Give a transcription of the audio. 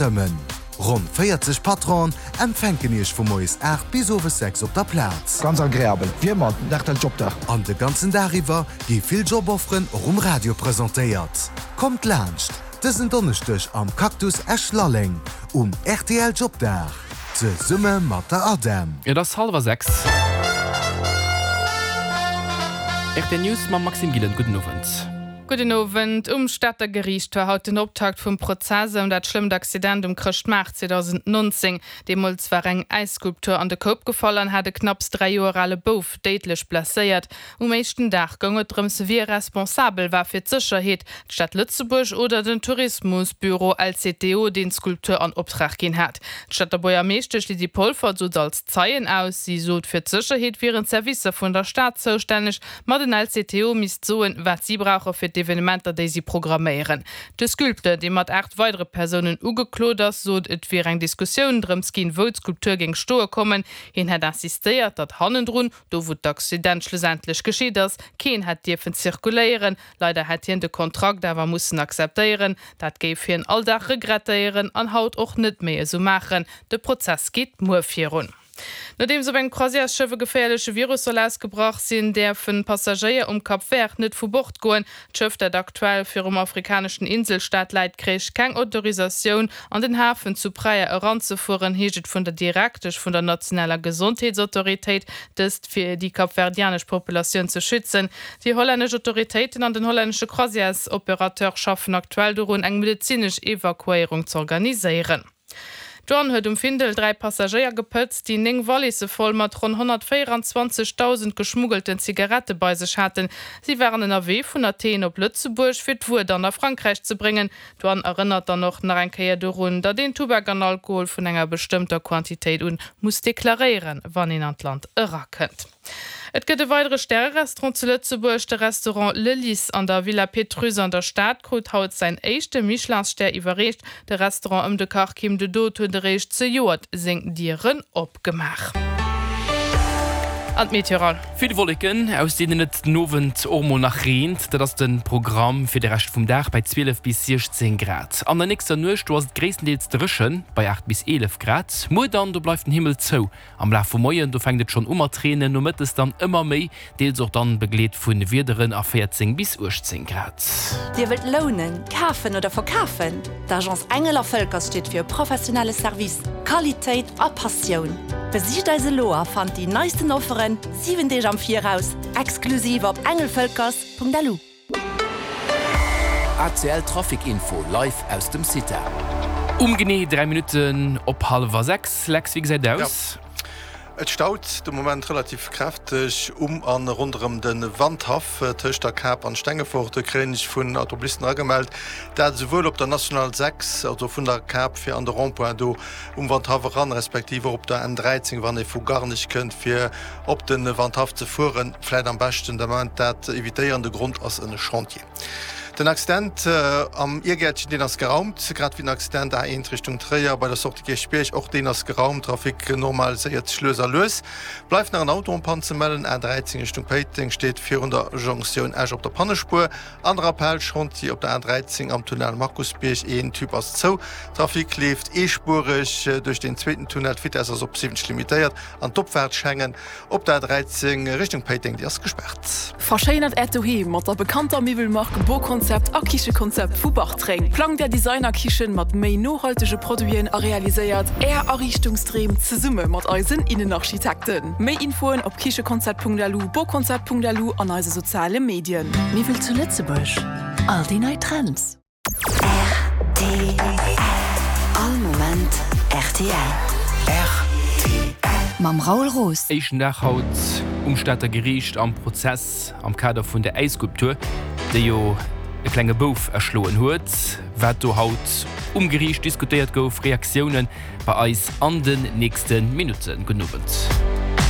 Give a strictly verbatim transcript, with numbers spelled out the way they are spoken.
Stëmmen. Ronn véierzeg Patronen empfänken Iech vu moies aacht bis owes sechs op der Plaz. Ganz agreabel, wéi ëmmer den R T L Jobdag. An de ganzen Dag iwwer gi vill Jobofferen och um Radio presentéiert. Kommt laanscht dësen Donneschdeg am Cactus Esch-Lalleng um R T L Jobdag zesumme mat der ADEM. Et ass hallwer sechs. R T L News mam Maxime Gillen. Gudden Owend. Gudden Owend. Um Stater Geriicht war haut den Optakt vum Prozess ëm dat schlëmmt Accident um Chrëschtmaart zweedausendnonzéng. Deemools war eng Äisskulptur an de Koup gefall an hat e knapps dräi Joer ale Bouf déidlech blesséiert. Um éischten Dag goung et drëms, wie responsabel war fir d'Sécherheet, d'Stad Lëtzebuerg oder den Tourismusbüro L C T O, deen d'Skulptur an Optrag ginn hat. D'Stater Buergermeeschtesch Lydie Polfer sot als Zeien aus, si sot, fir d'Sécherheet wieren d'Servicer vun der Stad zoustänneg, ma den L C T O misst soen, wat si brauche fir d'Evenementer, déi si programméieren. De Sculpteur, dee mat aacht weidere Persounen ugeklot ass, sot, et wier eng Diskussioun drëms ginn, wou d'Skulptur géing stoe kommen. Hien hätt insistéiert, datt hannendrun, do wou d'Accident schlussendlech geschitt ass, keen hätt dierfen zirkuléieren. Leider hätt hien de Kontrakt awer mussen akzeptéieren. Dat géif hien all Dag regrettéieren an haut och net méi esou maachen. De Prozess geet muer virun. Nodeems op engem Croisièresschëff e geféierleche Virus soll ausgebrach sinn, däerfen Passagéier um Cap Vert net vu Bord goen. D'Schëff, dat aktuell virum afrikaneschen Inselstaat läit, kréich keng Autorisatioun an den Hafen zu Praia eranzefueren, heescht et vun der Direktesch vun der nationaler Gesondheetsautoritéit, dëst fir déi kapverdianesch Populatioun ze schützen. Déi hollännesch Autoritéiten an den hollännesche Croisièresopérateur schaffen aktuell dorun, eng medezinesch Evakuéierung z'organiséieren. D'Douane huet um Findel dräi Passagéier gepëtzt, déi néng Walisse voll mat ronn honnertvéierundzwanzegdausend geschmuggelten Zigarette bei sech haten. Si waren ënnerwee vun Athen op Lëtzebuerg fir d'Wuer dann a Frankräich ze bréngen. D'Douane erënnert dann och nach eng Kéier dorun, datt een Tubak an Alkohol vun enger bestëmmter Quantitéit un muss deklaréieren, wann een an d'Land erakënnt. Et gëtt e weidere Stärerestaurant zu Lëtzebuerg. De Restaurant Le Lys an der Villa Pétrusse an der Stad krut haut säin éischte Michelin-Stär iwwerreecht. De Restaurant ëm de Kach Kim de Dood huet eréischt zejoert seng Dieren opgemaach. An d'Meteoral. Vill Wolleken, aus deenen et den Owend och mol nach reent. Dat ass de Programm fir de Rescht vum Dag bei zwielef bis siechzéng Grad. An der nächster Nuecht, do ass et gréisstendeels dréchen, bei aacht bis eelef Grad. Muer dann, do bleift den Himmel zou. Am Laf vum Moien, do fänkt et schonn u mat reenen, nomëttes dann ëmmer méi, deels och dann begleet vu Wiederen a véierzéng bis uechtzéng Grad. Dir wëllt lounen, kafen oder verkafen? D'Agence Engel a Völkers steet fir e professionelle Service, Qualitéit a Passioun. Besicht eis elo a fannt déi neisten Offeren siwen Deeg am Viraus, exklusiv op engelvölkers punkt L U. A C L Trafic Info live aus dem Cita. Um genee dräi Minutten op hallwer sechs. Lex, wéi gesäit et aus? Ja. Et staut de Moment relativ kräfteg um an ronderëm de Wandhaff tëscht der Kap an Stengefort. De kréien ech vun Automobilisten agemellt, dat esouwuel op der National sechs, also vun der Kap fir an de Rond-point do um Wandhaff eran, respektiv och op der N dräizéng, wann ee vu Garnich kënnt, fir op de Wandhaff ze fueren. Vläit am beschten de Moment dat evitéieren. De Grond ass en Chantier. Den Accident am Iergäertchen, deen ass geraumt, grad wéi den Accident A eent Richtung Tréier bei der Sortie Kierchbierg, och deen ass geraumt. Trafic normaliséiert sech lues a lues. Bleift nach en Auto en panne ze mellen. A dräizéng Richtung Péiteng steet virun der Jonktioun Esch op der Pannespuer. An der Appell Chantier op der A dräizéng am Tunnel Markusbierg, een Typ ass zou. Trafic leeft eespuereg duerch den zweeten Tunnel, d'Vitesse ass op siwwenzeg limitéiert an d'Opfaart Schengen op der A dräizéng Richtung Péiteng, déi ass gespaart. Verschéinert Äert Doheem mat der bekannter Miwwelmark Boconcept a Kichekonzept vu Bartreng. Plangt Är Designerkichen mat méi nohaltege Produiten a realiséiert Är Ariichtungsdreem zesumme mat eisen Innenarchitekten. Méi Infoen op kichekonzept punkt L U, boconcept punkt L U an eise soziale Medien. Miwwel zu Lëtzebuerg. All déi nei Trends. R T L. All Moment R T L. R T L. Mam Raoul Roos. Éischten Dag haut um Stater Geriicht am Prozess am Kader vun der Äisskulptur, déi jo e klenge Bouf erschloen huet. Wat do haut um Geriicht diskutéiert gouf, Reaktiounen bei eis an den nächsten Minutten. Gudden Owend.